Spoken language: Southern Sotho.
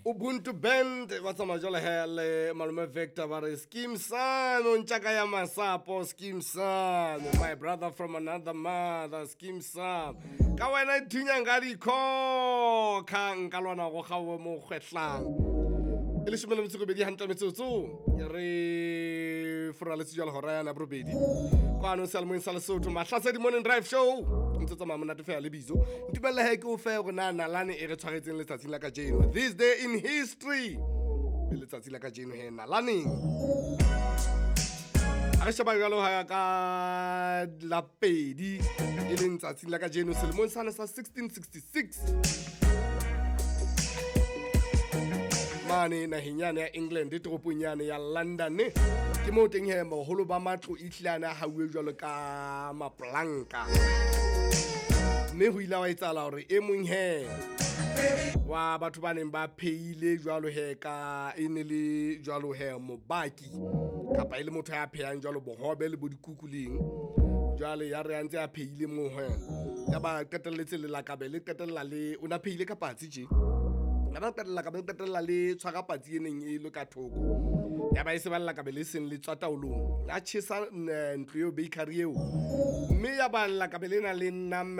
Ubuntu Band ba tsamaya jwale he le malome Victor, ba re Skeem Sam o ntjaka ya masapo. Skeem Sam, my brother from another mother. Skeem Sam, ka wena thunyang ka dikhokha, nka lwana go gawe mo kgwehlang. E 18 hantle metsotso, re foraletse jwale hora yana borobedi kwano seyalemoyeng sa Lesotho, Mahlasedi Morning Drive Show ntse tsamaya monate fela. Lebitso ntumelle he ke o fe gore na nalane e re tshwaretseng letsatsing la kajeno, this day in history, le letsatsi la kajeno he nalaneng. A re sheba jalo ha ka la 2, e leng tsatsing la kajeno selemong sane sa 1666, mane naheng yane ya England, toropong yane ya London, ke moo teng he boholo ba matlo e tlile a hauwe jwalo ka maplanka, mme ho ile wa etsahala hore e mong he wa batho ba neng ba phehile jwalo he, ka e ne le jwalo he mobaki kapa e le motho ya phehang jwalo bohobe le bo dikuku leng jwale, ya re a ntse a phehile moo he, ya ba qetelletse lelakabe le qetella le o na phehile ka patsi tje, ya ba qetella ka ba qetella le tshwara patsi e neng e le ka thoko, ya ba e se ba lelakabe le seng le tswa taolong, ya tjhesa ntlo eo, bakery eo, mme ya ba lelakabe lena le